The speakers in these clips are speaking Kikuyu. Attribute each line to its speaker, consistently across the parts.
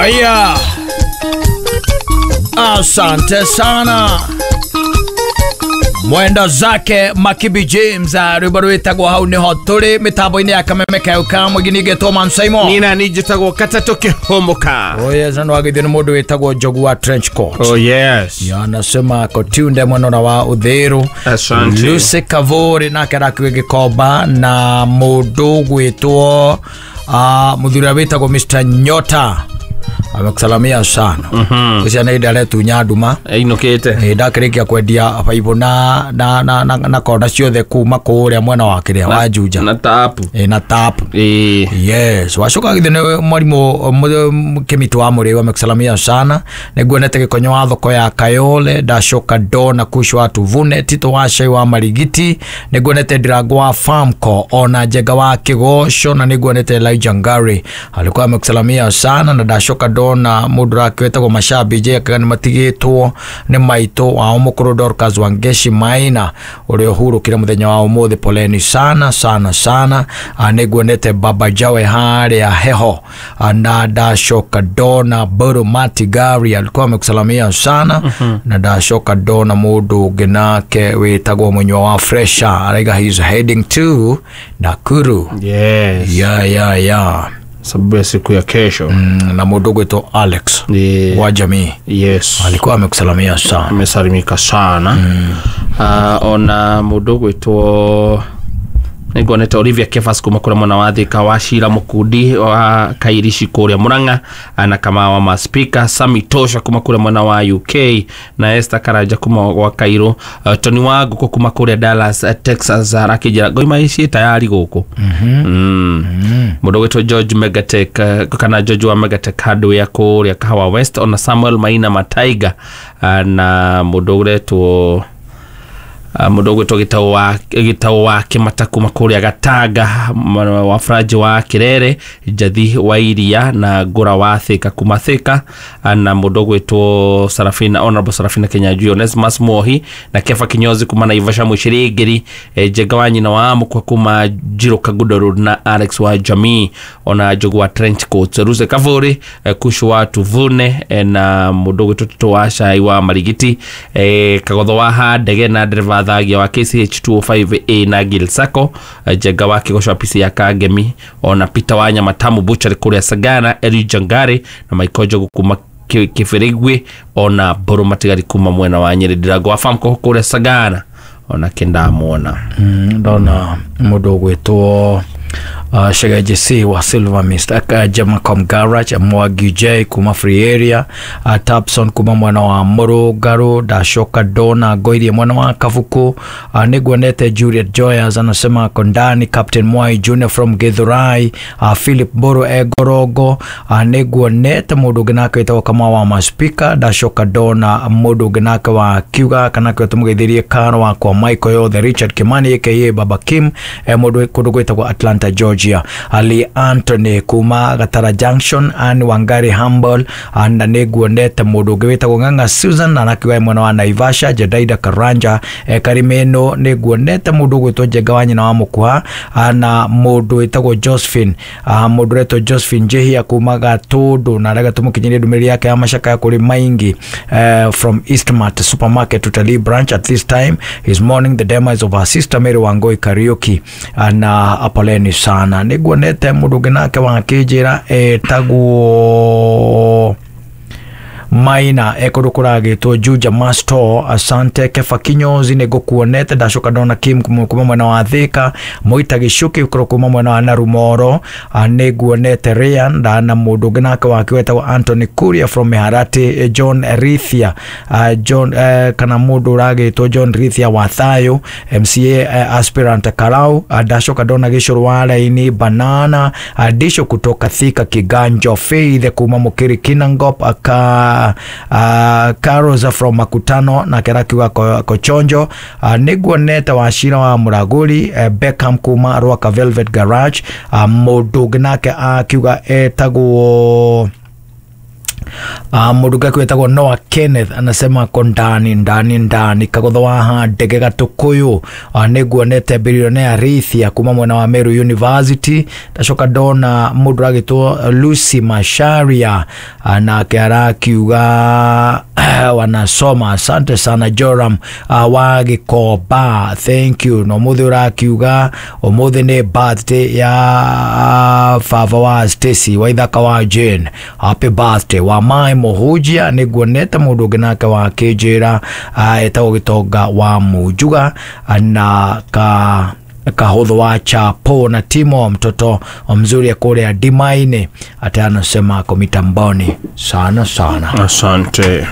Speaker 1: Aya, asante sana mwenda zake Makibi James, rwimbo rwitagwo hau niho turi mitambo-inĩ ya kameme keu ka mũingĩ ningĩtwo Man Simon.
Speaker 2: Nina nijitagwo Katatũ Kĩhũmũka.
Speaker 1: Oh yes, na nĩwagĩthio nĩ mũndũ wĩtagwo Njogu wa trench coat.
Speaker 2: Oh yes.
Speaker 1: Ya, anasema kotunde mwenora wa Uthiru.
Speaker 2: Asante.
Speaker 1: Lucy Kavuri nake arakiwe Gĩkomba na mũndũ gwĩtwo mũthuri ũrĩa wĩtagwo Mr Nyota amekusalamia sana. Ũcio nĩ ndaretunya nduma.
Speaker 2: Ainũkĩte.
Speaker 1: Ndakĩrĩkia kwendia baibũ na kona ciothe kuma kũrĩa mwena wa kĩrĩa wa Juja.
Speaker 2: Na tapu.
Speaker 1: Na tap.
Speaker 2: Ĩĩ.
Speaker 1: Yes, wacoka githĩ nĩ mwarimũ Kĩmitũ wa Mũrĩu amekusalamia sana. Nĩnguonete Gĩkonyo wa thoko ya Kayole, ndacoka ndona Kush wa Tuvune, Tito wa Cai wa Marigiti, nĩnguonete Ndirango wa Farmco, ona Njenga wa Kĩgoco, na nĩnguonete Elijah Ngari alikuwa amekusalamia sana. Na ndacoka ndona mũndũ ũrake wĩtagwo Mashabi J akiuga nĩ matigĩtwo nĩ maitũ wao mũkũrũ Dorcas Wangeshi Maina ũrĩa ũhurũkire mũthenya wa ũmũthĩ, poleni sana sana sana. Nĩnguonete Baba Jawe harĩa Heho, na ndacoka ndona Boro Matigari alikuwa amekusalamia sana. Na ndacoka ndona mũndũ ũngĩ nake wĩtagwo Mũnyua wa Fresha araiga he's heading to Nakuru.
Speaker 2: Yes.
Speaker 1: Yeah, yeah, yeah.
Speaker 2: Sababu ya siku ya kesho.
Speaker 1: Na mũndũ ũgwĩtwo Alex wa jamii.
Speaker 2: Yes.
Speaker 1: Alikuwa amekusalamia sana.
Speaker 2: Amesalimika sana. Ona mũndũ ũgwĩtwo nĩnguonete Olivia Kefas kuma kũrĩa mwena wa Thika, wa Shira Mũkundi wa Kairici kũrĩa Murang'a, na Kamau wa Maspika, Sami Tosha kuma kũrĩa mwena wa UK, na Esther Karanja kuma gwa Cairo, Tony wa Ngũkũ kuma kũrĩa Dallas, Texas, arakĩnjĩra ngoima ici tayari gũkũ. Mũndũ ũgwĩtwo George Megatech, kana George wa Megatech Hardware kũrĩa Kahawa West, ona Samuel Maina Mataiga, na mũndũ ũretwo mũndũ ũgwĩtwo Gĩtaũ wa Kĩmata kuma kũrĩa Gatanga, wa Franji wa Kĩrere, Njathi wa Iria na Ngũra wa Thika kuma Thika, na mũndũ ũgwĩtwo Sarafina, Honorable Sarafina Kinyanjui, Onesmus Mohi na Kefa Kinyozi kuma Naivasha Mũcirĩngĩri, Njenga wa nyina wa Mũkwa kuma Njiro Kagudo Road na Alex wa Jamii, ona Njogu wa Trench Coats, Ruse Kavuri, Kushu wa Tuvune, na mũndũ ũgwĩtwo Tito wa Cai wa Marigiti, Kagotho wa Handege na dereva Thagia wa KCH 205A na Gil Sacco, Njenga wa Kĩgoco wa PC ya Kangemi, ona Peter wa Nyamatamu Butchery kũrĩa Sagana, Eli Jangari na Michael Njogu kuma Kĩbĩrĩgwe, ona Mbũrũ Matigari kuma mwena wa Nyĩrĩ, Ndirango wa Farmco kũrĩa Sagana, ona kĩndamuona.
Speaker 1: Ndona mũndũ ũgwĩtwo Shegeji C wa Silver Mist, Jamacom Garage, Mwagi J kuma Free Area, Tapson kuma mwena wa Mũrũngarũ, ndacoka ndona Ngoirie mwena wa Kabuku, nĩnguonete Juliet Joyers anasema Kondani, Captain Mwai Junior from Githurai, Philip Mburu Egorongo, nĩnguonete mũndũ ũngĩ nake wĩtagwo Kamau wa Maspika, ndacoka ndona mũndũ ũngĩ nake wa Kiuga kana kĩo tũmũgeithirie Karo wakwa Michael Yothe, Richard Kimani aka Baba Kim, mũndũ kũndũ gwĩtagwo Atlanta Georgia, Ali Anthony kuma Gatara Junction, Ann Wangari Humble, na nĩnguonete mũndũ ũngĩ wĩtagwo Ng'ang'a Susan na nakiuga mwena wa Naivasha, Jedaida Karanja, Karimeno, nĩnguonete mũndũ ũgwĩtwo Njenga wa nyina wa Mũkuha, na mũndũ wĩtagwo Josephine, mũndũ ũretwo Josephine Njihia kuma Gatũndũ, na arega tũmũkinyĩrie ndũmĩrĩri yake ya macakaya kũrĩ Maingi, from Eastmart Supermarket Utalii branch. At this time he's mourning the demise of her sister Mary Wangoi Kariuki, na apoleni sana. Nĩnguonete mũndũ ũngĩ nake wa kĩnjĩra etagwo Maina ekũndũ kũragĩtwo Juja Masto, asante. Kefa Kinyozi nĩngũkuonete, ndacoka ndona Kim kuma mwena wa Thika, Moita Gĩcuki ũkorwo kuma mwena wa Narumoro, nĩnguonete Ryan ndana mũndũ ũngĩ nake wake wetagwo Anthony Kuria from Miharati, John Rithia, John kana mũndũ ũragĩtwo John Rithia wa Thayo, MCA aspirant Karau, ndacoka ndona Gĩcũrũ wa Raini Banana, Disho kutoka Thika Kiganjo, Faith kuma Mũkĩri Kinangop, aka Carosa from Makutano na kerakiwa Kochonjo, nĩnguonete Wachira wa Mũragũri, Beckham kuma Rwaka Velvet Garage, mũndũ ũngĩ nake akiuga etagwo Mundu ngaki wetagwo Noah Kenneth anasema ko ndani ndani ndani kagotho wa ndege gatukuyu. Niguonete bilionea Rithia kuma mwena wa Meru University. Ndacoka ndona mundu agitwo Lucy Masharia, nake arakiuga wanasoma. Asante sana Joram wa Gikoba, thank you. No muthi urakiuga umuthi ni birthday ya baba wa Stacy wa ithaka wa Jane, happy birthday. Wa Mai Muhujia niguonete mundu ungi nake wa kinjira etagwo Gitonga wa Munjuga, na ka kahudho wa Chapo na Timo mtoto mzuri kule Dimaine, ata anasema ako mitamboni sana sana.
Speaker 2: Asante.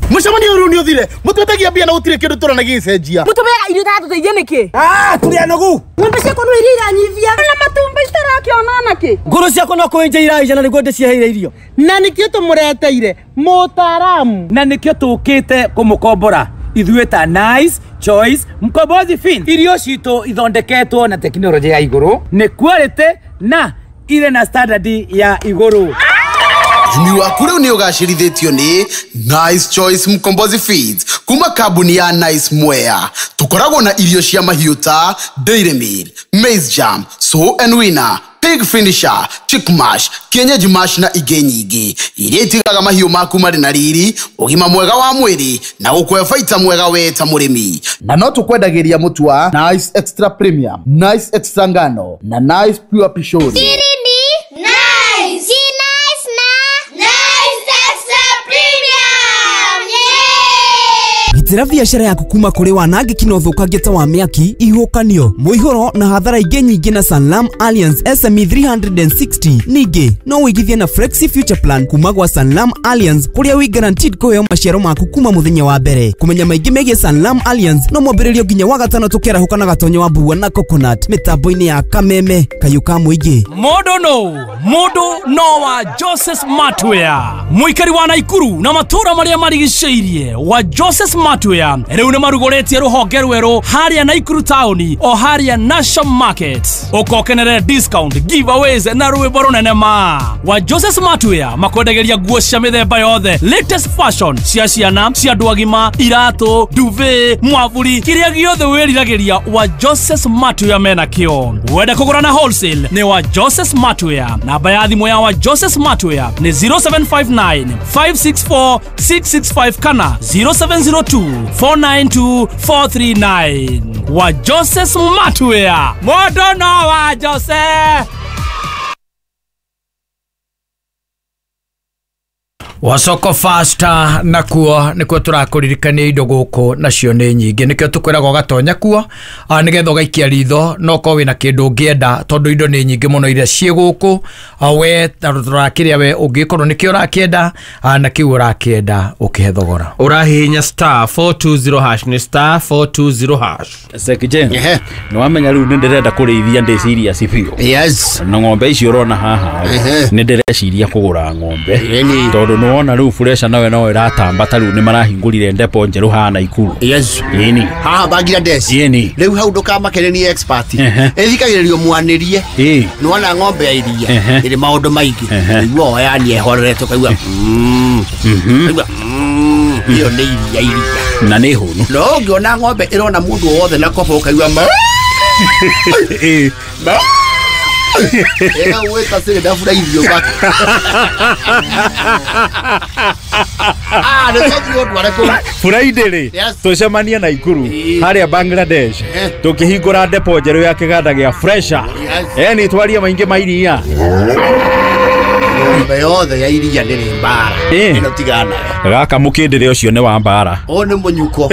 Speaker 3: Mucemanio riu ni uthire mutwetagia mbia na gutire kindu turona gicenjia
Speaker 4: mutumira irio tatuteithie niki
Speaker 5: turi anogu
Speaker 4: ng'ombe ciakwa no iria iranyivia na matumbi citarakiona naki
Speaker 5: nguru ciakwa no kwinja iraija na niguo ndiciheire irio
Speaker 3: na nikio tumureteire mutaramu
Speaker 5: na nikio tukite kumukombora ithuĩ ta Nice Choice Mkombozi Fin. Irio citũ ithondeketwo na tekinoronjĩ ya igũrũ, nĩ quality na ire na standard ya igũrũ.
Speaker 6: Ũrĩmi waku rĩu nĩ ũgacĩrithĩtio nĩ Nice Choice Mkombozi Feeds kuma kambuni ya Nice Mwea. Tũkoragwo na irio cia mahiũ ta Dairy Meal, Maize Jam, Sow and Winner, Pig Finisher, Chick Mash, Kienyeji Mash na ingĩ nyingĩ iria itigaga mahiũ maku marĩ na riri, ũgima mwega wa mwĩrĩ na gũkũhe baita mwega we ta mũrĩmi.
Speaker 3: Na no tũkwendagĩria mũtu wa Nice Extra Premium, Nice Extra Ngano na Nice Pure Pishori.
Speaker 7: Nice. Nice na Nice Extra Premium. Yeah!
Speaker 8: Gitĩra biacara yaku kuma kũrĩ wanangĩki na ũthũkangia ta wa mĩaki, ihuhũkanio, mũihũro na hathara ingĩ nyingĩ na Sanlam Alliance SME 360. Ningĩ no wĩigithie na Flexi Future Plan kuma gwa Sanlam Alliance kũrĩa wĩ guaranteed kũheo maciaro maku kuma mũthenya wa mbere. Kũmenya maingĩ megiĩ Sanlam Alliance no mwambĩrĩrio nginya wa gatano tũkĩarahũka na gatonyo wa mbua na coconut mĩtambo-inĩ ya Kameme kayũ ka mũingĩ.
Speaker 9: Mũndũ no wa Joseph Smartwear mũikari wa Naikuru na matũra marĩa marigicĩirie wa Joseph Smartwear rĩu nĩ marugũrĩtie rũhonge rwerũ harĩa Naikuru taũni o harĩa National Market. Ũkokenere discount, giveaways na rwĩmbo rũnene ma wa Joseph Smartwear makwendagĩria nguo cia mĩthemba yothe, latest fashion cia ciana, cia andũ agima, iratũ, duvet, mwavuri, kĩrĩa gĩothe wĩriragĩria wa Joseph Smartwear mena kĩo. Wenda kũgũra na wholesale nĩ wa Joseph Smartwear. Namba ya thimũ ya wa Joseph Smartwear nĩ 0759 564 665 kana 0702 492 439. Wa Joseph Smartwear, mũndũ no wa Joseph.
Speaker 1: Wasoko faster nakuo nikuo turakuririkania indo guku nacio ni nyingi nikio tukwiraga ugatonya kuo nigetha ugaikia ritho no ko wina kindu ungienda tondu indo ni nyingi muno iria ciĩ guku we turakiria we ungikorwo nikio urakienda na kiu urakienda ukihe thogora
Speaker 2: urahihinya star 420 hash ni star 420 hash.
Speaker 10: Sekije ni wamenya riu ni ndirenda kurithia ndi serious biũ.
Speaker 6: Yes.
Speaker 10: Na ng'ombe icio urona haha ni ndireciria kugura ng'ombe tondu ni wona riu furesha nawe no iratamba ta riu ni marahingurire ndepo njeru haha Naikuru.
Speaker 6: Yes.
Speaker 10: Yeni
Speaker 6: haha Bangladesh.
Speaker 10: Yeni
Speaker 6: riu hau ndukamakene ni expert ithikagiririo mwanirie ni wona ng'ombe ya iria iri maundu maingi igua yani ehorerete ukaigua ukaigua iyo ni iria iria
Speaker 10: na ni hunu
Speaker 6: no ungiona ng'ombe irona mundu wothe na kobo ukaigua ma ega weta sire ndafura irio baka
Speaker 10: Friday tucemanie Naikuru haria Bangladesh tukihingura depo njeru ya kiganda gia fresha ni twarie maingi ma iria
Speaker 6: ng'ombe yothe ya iria ndĩrĩ mbara ĩno tigana nayo
Speaker 10: gaka mũkĩndĩre ũcio nĩ wa mbara
Speaker 6: ũyũ nĩ mũnyuko.